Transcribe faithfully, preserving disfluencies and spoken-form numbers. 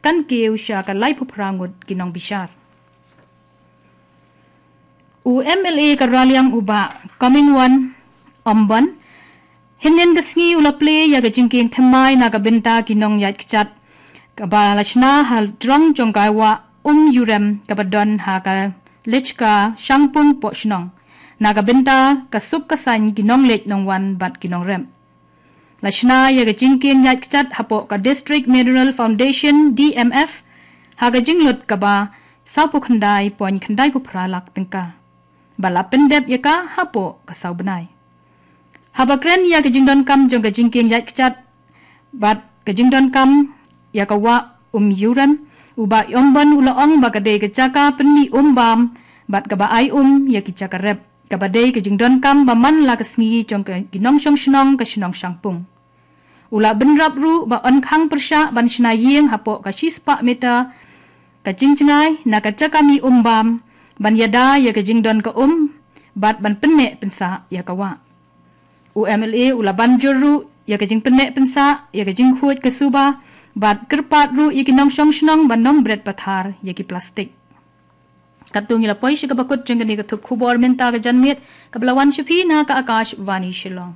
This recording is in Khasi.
tan kiew sha ka laiphew phra ngut ki nongbishar. U M L A ka Raliang u Bah Comingone Ymbon, hynnin ka sngi u la plie ïa ka jingkieng thymmai na ka bynta ki nongïaid kjat kaba la shna ha drong jong ka wah Umïurem kaba don ha ka Lechka Shangpung Pohshnong, na ka bynta ka suk ka saiñ ki nongleit nongwan bad ki nongrep. La shna ïa ka jingkieng ïaid kjat hapoh ka District Mineral Foundation, D M F, ha ka jinglut kaba sawphew khyndai point khyndai phew phra lak tyngka, ba la pyndep ïa ka hapoh ka saw bnai. Haba kren ïa ka jingdonkam jong ka jingkieng ïaid kjat bad ka jingdonkam ïa ka wah Umïurem, u Bah Ymbon u la ong ba ka dei ka jaka pynmih um bam bad kaba ai um ïa ki jaka rep, kaba dei ka jingdonkam ba man la ka sngi jong ka ki nongshong shnong ka shnong Shangpung. U la bynrap ruh ba yn khang pyrshah ban shna ïing hapoh ka shispah meter ka jingjngai na ka jaka mih um bam, ban ïada ïa ka jingdon ka um bad ban pynneh pynsah ïa ka wah. U M L A u la ban jur ruh ïa ka jingpynneh pynsah ïa ka jingkhuid ka suba bad kyrpad ruh ïa ki nongshong shnong ban ym bret pathar ïa ki plastik. Katto ngi la poi sha kaba kut jong kane ka thup khubor mynta ka janmiet, kaba la wan sha phi na ka Akashvani Shillong.